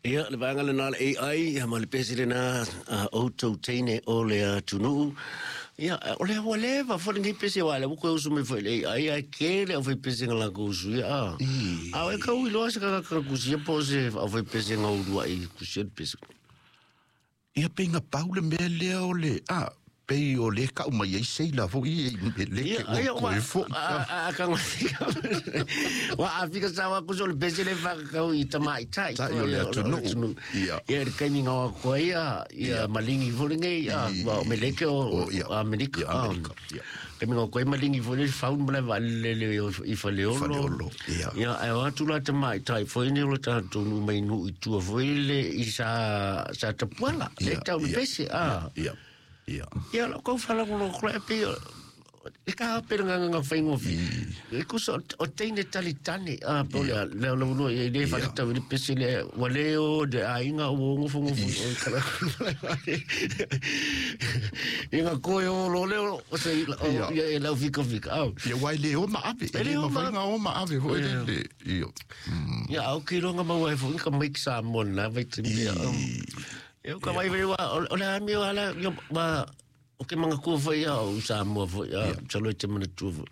Ia, le vaega lena o le AI, ia ma le pese lena a outou teine o le atunuu. Ia, o lea ua leva foi lenei pese, aua o lea ua toe usu mai foi i le AI, ae tele aufaipese na latou usuia, a. A o e tau iloa se tagata na tusia po o se aufaipese na uluai tusia le pese? Ia pei na pau le mea lea o le, a, pei o lea e tau mai ai seila foi i meleke ua toe foi. Ua a fika sao aku so le pese le whakakau i tamaitai. Tai o le atunuu. Ia. Ia le kaimi ngā koa ia, ia malingi foi lenei, ia, o meleke o Amerika. Ia, Amerika. Ia. Kaimi ngā koa malingi foi le faun ma le vaalele i Faleolo. Faleolo, ia. Ia, ae o atu la tamaitai foi nei o le tatou nuu mai nuu i tua foi le i sa, sa tapuala, le tau le pese, a. Ia, ia. Ia, lau kau whalangolo kura e pei o, e ka hape le nganga whaingofi. E kusa o teine tali tane, a, po le, le le ulo, e le whaletau i le pese le, wa le o, de a inga o ngofo ngofo, o kala, i nga koe o lo le o, o se, o, ia e lau fika fika, au. Ia wai le o ma ave, e le ma whainga o ma ave foi le, le, ia. Ia, au ki ronga maua e fo, ka maik Samoa na, vai te mea. Ia, ka vai vai, o le amio ala, ia, ma, o ke manga kua foi ia, o Samoa foi, a, salo e te mana tua foi.